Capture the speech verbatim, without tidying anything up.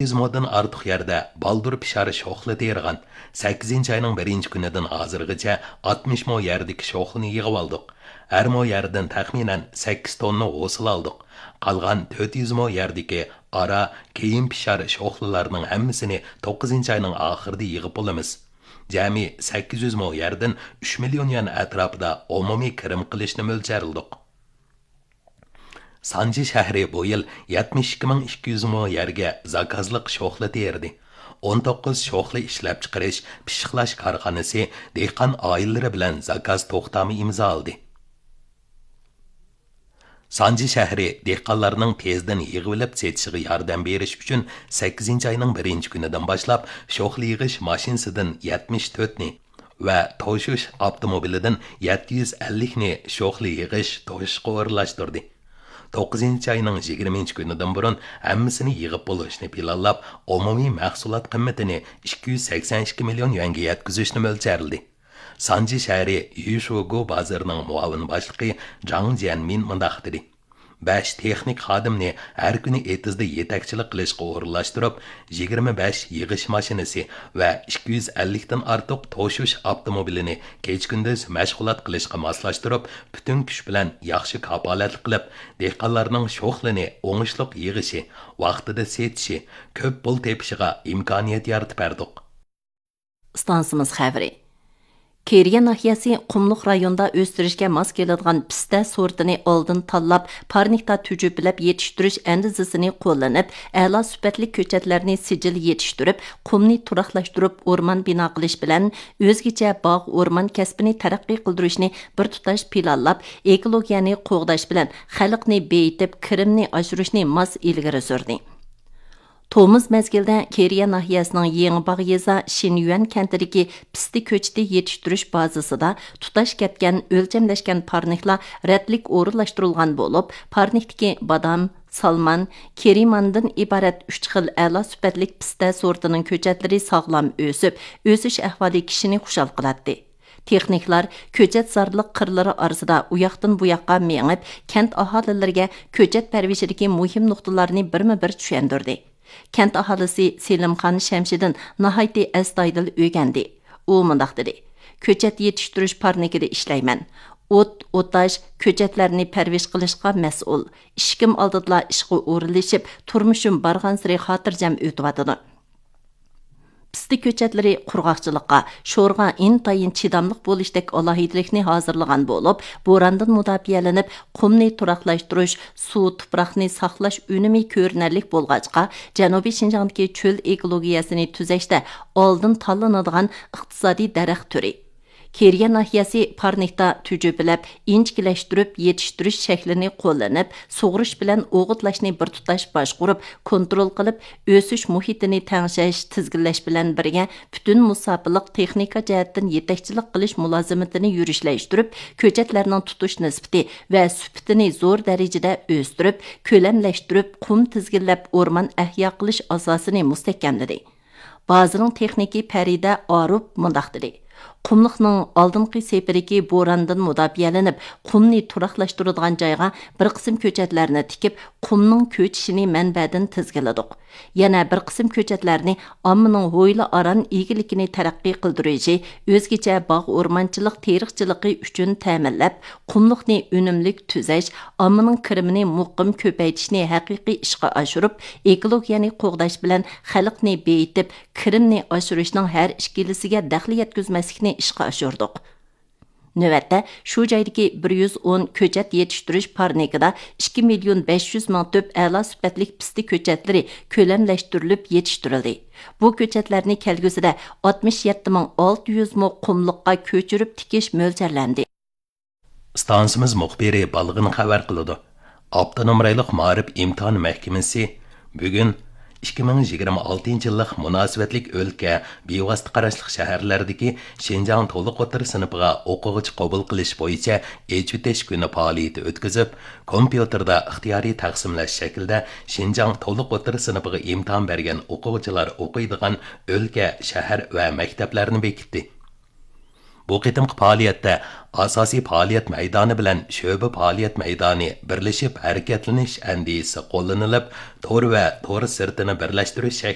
يۈز مودىن ئارتۇق يەردە بالدۇر پىشار شوخلا تېرىغان. سەككىزىنچى ئاينىڭ بىرىنچى كۈنىدىن ھازىرغىچە ئاتمىش مو يەردىكى شوخلىنى يىغىۋالدۇق. ھەر مو يەردىن تەخمىنەن سەككىز توننا ھوسۇل ئالدۇق. قالغان تۆت يۈز مو يەردىكى ئارا، كېيىن پىشار شوخلىلارنىڭ ھەممىسىنى توققۇزىنچى ئاينىڭ ئاخىرىدا يىغىپ بولىمىز. جەمئىي سەككىز يۈز مو يەردىن ئۈچ مىليون يۈەن ئەتراپىدا ئومۇمىي كىرىم قىلىشنى مۆلچەرلىدۇق. سانجى شەھىرى بۇ يىل يەتمىش ئىككى مىڭ ئىككى يۈز مو يەرگە زاكازلىق شوخلا تېرىدى. ئون توققۇز شوخلا ئىشلەپچىقىرىش، پىششىقلاش كارخانىسى دېھقان ئائىلىلىرى بىلەن زاكاز توختامى ئىمزالىدى. سانجى شەھىرى دېھقانلارنىڭ تېزدىن يىغىۋېلىپ سېتىشىغا ياردەم بېرىش ئۈچۈن سەككىزىنچى ئاينىڭ بىرىنچى كۈنىدىن باشلاپ شوخلا يىغىش ماشىنىسىدىن يەتمىش تۆتنى ۋە توشۇش ئاپتوموبىلىدىن يەتتە يۈز ئەللىكنى شوخلا يىغىش، توشۇشقا ئورۇنلاشتۇردى. توققۇزىنچى ئاينىڭ يىگىرمىنچى كۈنىدىن بۇرۇن ھەممىسىنى يىغىپ بولۇشنى پىلانلاپ، ئومۇمىي مەھسۇلات قىممىتىنى ئىككى يۈز سەكسەن ئىككى مىليون يۈەنگە يەتكۈزۈشنى مۆلچەرلىدى. سانجى شەھىرى يۈشۈگۇ بازىرىنىڭ مۇئاۋىن باشلىقى جاڭ جيەنمىن مۇنداق دېدى: بەش تېخنىك خادىمنى ھەر كۈنى ئېتىزدا يېتەكچىلىك قىلىشقا ئورۇنلاشتۇرۇپ، يىگىرمە بەش يىغىش ماشىنىسى ۋە ئىككى يۈز ئەللىكتىن ئارتۇق توشۇش ئاپتوموبىلىنى كېچە-كۈندۈز مەشغۇلات قىلىشقا ماسلاشتۇرۇپ، پۈتۈن كۈچ بىلەن ياخشى كاپالەتلىك قىلىپ، دېھقانلارنىڭ شوخلىنى ئوڭۇشلۇق يىغىشى، ۋاقتىدا سېتىشى، كۆپ پۇل تېپىشىغا ئىمكانىيەت يارىتىپ بەردۇق. ئىستانسىمىز خەۋىرى. كېرىيە ناھىيەسى قۇملۇق رايونىدا ئۆستۈرۈشكە ماس كېلىدىغان پىستە سورتىنى ئالدىن تاللاپ، پارنىكتا تۈجۈپىلەپ يېتىشتۈرۈش ئەندىزىسىنى قوللىنىپ، ئەلا سۈپەتلىك كۆچەتلەرنى سىجىل يېتىشتۈرۈپ، قۇمنى تۇراقلاشتۇرۇپ، ئورمان بىنا قىلىش بىلەن ئۆزگىچە باغ، ئورمان كەسپىنى تەرەققىي قىلدۇرۇشنى بىر تۇتاش پىلانلاپ، ئېكولوگىيەنى قوغداش بىلەن خەلقنى بېيىتىپ، كىرىمنى ئاشۇرۇشنى ماس ئىلگىرى سۈردى. تومۇز مەزگىلدە كېرىيە ناھىيەسىنىڭ يېڭى باغ يېزا شىنيۈەن كەنتىدىكى پىستە كۆچىتى يېتىشتۈرۈش بازىسىدا تۇتاش كەتكەن، ئۆلچەملەشكەن پارنىكلار رەتلىك ئورۇنلاشتۇرۇلغان بولۇپ، پارنىكتىكى بادام، سالمان، كېرىماندىن ئىبارەت ئۈچ خىل ئەلا سۈپەتلىك پىستە سورتىنىڭ كۆچەتلىرى ساغلام ئۆسۈپ، ئۆسۈش ئەھۋالى كىشىنى خۇشال قىلاتتى. تېخنىكلار كۆچەت زارلىق قىرلىرى ئارىسىدا ئۇياقتىن بۇياققا مېڭىپ، كەنت ئاھالىلىرىگە كۆچەت پەرۋىشىدىكى مۇھىم نۇقتىلارنى بىرمۇ بىر چۈشەندۈردى. كەنت ئاھالىسى سېلىمخان شەمشىدىن ناھايىتى ئەستايىدىل ئۆگەندى. ئۇ مۇنداق دېدى: كۆچەت يېتىشتۈرۈش پارنىكىدا ئىشلەيمەن. ئوت، ئوتاش، كۆچەتلەرنى پەرۋىش قىلىشقا مەسئۇل. ئىشىكىم ئالدىدىلا ئىشقا ئورۇنلىشىپ، تۇرمۇشۇم بارغانسېرى خاتىرجەم ئۆتۈۋاتىدۇ. پىستە كۆچەتلىرى قۇرغاقچىلىققا، شورغا ئىنتايىن چىداملىق بولۇشتەك ئالاھىدىلىكنى ھازىرلىغان بولۇپ، بوراندىن مۇداپىئەلىنىپ، قۇمنى تۇراقلاشتۇرۇش، سۇ، تۇپراقنى ساقلاش ئۈنۈمى كۆرۈنەرلىك بولغاچقا، جەنۇبىي شىنجاڭدىكى چۆل ئېكولوگىيەسىنى تۈزەشتە ئالدىن تاللىنىدىغان ئىقتىسادىي دەرەخ تۈرى. كېرىيە ناھىيەسى پارنىكتا تۈجۈپىلەپ، ئىنچىكىلەشتۈرۈپ يېتىشتۈرۈش شەكلىنى قوللىنىپ، سۇغۇرۇش بىلەن ئوغۇتلاشنى بىر تۇتاش باشقۇرۇپ، كونترول قىلىپ، ئۆسۈش مۇھىتىنى تەڭشەش، تىزگىنلەش بىلەن بىرگە، پۈتۈن مۇساپىلىق تېخنىكا جەھەتتىن يېتەكچىلىك قىلىش مۇلازىمىتىنى يۈرۈشلەشتۈرۈپ، كۆچەتلەرنىڭ تۇتۇش نىسبىتى ۋە سۈپىتىنى زور دەرىجىدە ئۆستۈرۈپ، كۆلەملەشتۈرۈپ، قۇم تىزگىنلەپ، ئورمان ئەھيا قىلىش ئاساسىنى مۇستەھكەملىدى. بازىنىڭ تېخنىكى پەرىدە ئاروپ مۇنداق دېدى: قۇملۇقنىڭ ئالدىنقى سېپىدىكى بوراندىن مۇداپىئەلىنىپ، قۇمنى تۇراقلاشتۇرىدىغان جايغا بىر قىسىم كۆچەتلەرنى تىكىپ، قۇمنىڭ كۆچۈشىنى مەنبەدىن تىزگىنلىدۇق. يەنە بىر قىسىم كۆچەتلەرنى ئاممىنىڭ ھويلا ئاران ئىگىلىكىنى تەرەققىي قىلدۇرۇشى، ئۆزگىچە باغ ئورمانچىلىق تېرىقچىلىقى ئۈچۈن تەمىنلەپ، قۇملۇقنى ئۈنۈملۈك تۈزەش، ئاممىنىڭ كىرىمىنى مۇقىم كۆپەيتىشنى ھەقىقىي ئىشقا ئاشۇرۇپ، ئېكولوگىيەنى قوغداش بىلەن خەلقنى بېيىتىپ، كىرىمنى ئاشۇرۇشنىڭ ھەر ئىككىلىسىگە دەخلى يەتكۈزمەسلىكنى ئىشقا ئاشۇردۇق. نۆۋەتتە، شۇ جايدىكى بىر يۈز ئون كۆچەت يېتىشتۈرۈش پارنىكىدا ئىككى مىليون بەش يۈز مىڭ تۈپ ئەلا سۈپەتلىك پىستە كۆچەتلىرى كۆلەملەشتۈرۈلۈپ يېتىشتۈرۈلدى. بۇ كۆچەتلەرنى كەلگۈسىدە ئاتمىش يەتتە مىڭ ئالتە يۈز مو قۇملۇققا كۆچۈرۈپ تىكىش مۆلچەرلەندى. ئىستانسىمىز مۇخبىرى بالغىن خەۋەر قىلىدۇ. ئاپتونوم رايونلۇق مائارىپ ئىمتىھان مەھكىمىسى بۈگۈن ئىككى مىڭ يىگىرمە ئالتىنچى يىللىق مۇناسىۋەتلىك ئۆلكە، بىۋاسىتە قاراشلىق شەھەرلەردىكى شىنجاڭ تولۇق ئوتتۇرا سىنىپىغا ئوقۇغۇچى قوبۇل قىلىش بويىچە ئېچىۋېتىش كۈنى پائالىيىتى ئۆتكۈزۈپ، كومپيۇتېردا ئىختىيارىي تەقسىملەش شەكلىدە شىنجاڭ تولۇق ئوتتۇرا سىنىپىغا ئىمتىھان بەرگەن ئوقۇغۇچىلار ئوقۇيدىغان ئۆلكە، شەھەر ۋە مەكتەپلەرنى بېكىتتى. بۇ قېتىمقى پائالىيەتتە ئاساسىي پائالىيەت مەيدانى بىلەن شۆبە پائالىيەت مەيدانى بىرلىشىپ ھەرىكەتلىنىش ئەندىزىسى قوللىنىلىپ، تور ۋە تور سىرتىنى بىرلەشتۈرۈش شەكلىدە